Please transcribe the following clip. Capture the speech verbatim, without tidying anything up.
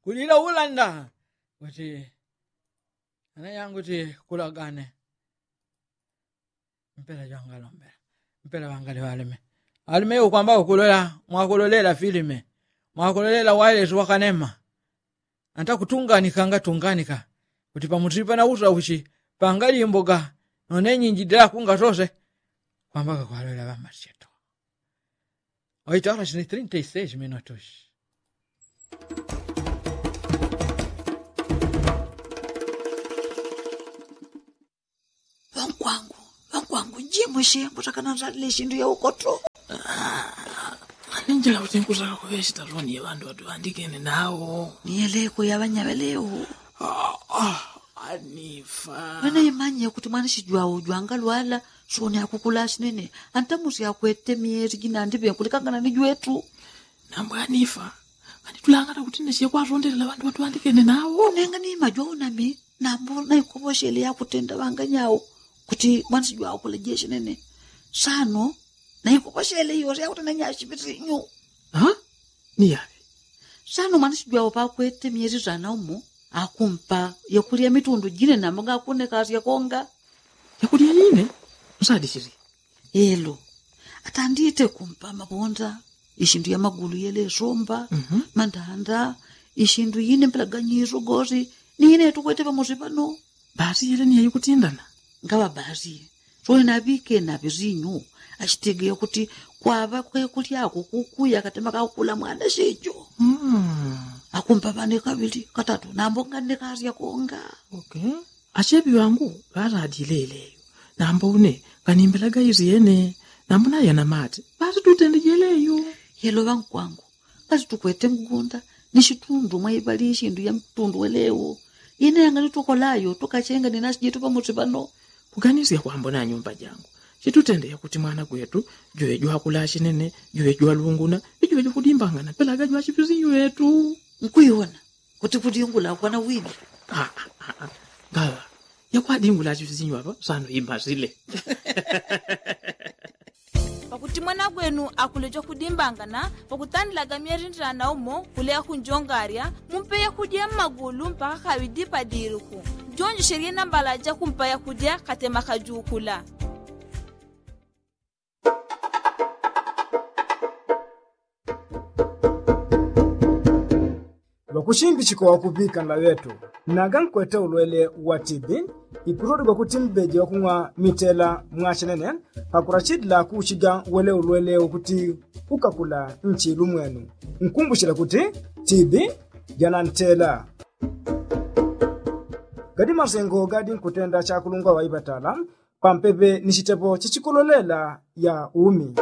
Kulila ulanda kuti anayangu ti kulagane. Mpela jwangalombela mpela wangali walime walime ukwamba ukulola mwakulolela filime mwakulolela wailesi wakanema. Anta kutunganika ngatunganika kuti pamuti pana usa uchi pangali imboga none nyinji dela kunga sose. Kwamba kakwalolela ŵambacheto. Oito horas ni trinta y seis minutos. Ŵankwangu ŵankwangu njimwishe mbutakana nzalile shindu ya ukoto. Ninjila kuti nkutaka kuŵe shitaloni ya ŵandu ŵatuŵandikene nawo. Niyeleko ya ŵanyaŵelewo. Anifa. Ŵanaimanye kuti mwanishijwawo jwangalwala soni akukula shinene. Antamusi akwete myeli jinandiŵenkulikangana ni jwetu. Nambwanifa. Nganitulangana kuti nesiye kwasondelela ŵandu ŵatuŵandikene nawo nenga ni majwawo nami. Nambo naikoposhele yakutenda ŵanganyawo kuti mwanisi jwawo kula jeshi nene. Sano naikoposhele yose yakutenda nyashi pisinyu. Ni yaŵe? Sano mwanisi jwawo pakwete myeli sana umo akumpa yakulya mitundu jine nambo ngakunekasya konga. Yakulya yine? Nsadisili. Elo atandite kumpa mabonda ishindu ya magulu yelesomba mandanda ishindu yine mpelaganyiso gosi. Ni yine yatukwete pamosi pano. Basi yele ni yayikutindana. Ngaŵa basi soni naŵike naŵe sinyu ashitegeya kuti kwaŵa kwekulyako kukuya katema kakukula mwana shijo. Akumpa ŵane kaŵili katatu nambo nganekasya konga. Achepi ŵangu ŵaladile yeleyo. Nambo une nganimbelaga isyene. Nambo nayana mate ŵasitutende jeleyo. Yelo ŵankwangu ngasitukwete mgunda ni shitundu mwaiŵali ishindu ya mtundu welewo. Ine yanganitukolayo tukachenga ni nasi jetu pamosi pano. Kuganisya kwambo na nyumba jangu chitutende yakuti mwana gwetu juwe jwakula shinene juwe jwalunguna ijuwe jukudimbangana pelaga jwachipisinyu yetu. Nkuiwona kuti kudingula kwana wini. Ngaŵa yakwadingula chifisinyu apa sano imasile. Pakuti mwana gwenu akuleja kudimbangana pakutandilaga myerindilana umo kuleya kunjongarya mumpe yakudya mmagulu mpaka kaŵidi padiluku. Jonjeshelye nambala jakumpa yakudya katema kajukula. Ŵakushimbichika wakuŵika nlaŵetu naga nkwete ulwele wa tibi. Ipululi gwakuti mbeje wakung'wa mitela mwachenene pakulachilila kuuchiga wele ulwele wakuti ukakula nchilu mwenu. Nkumbuchila kuti tibi janantela. Gadi masengo gadi nkutenda chakulungwa ŵaipatala pampepe ni chitepo chichikololela ya umi.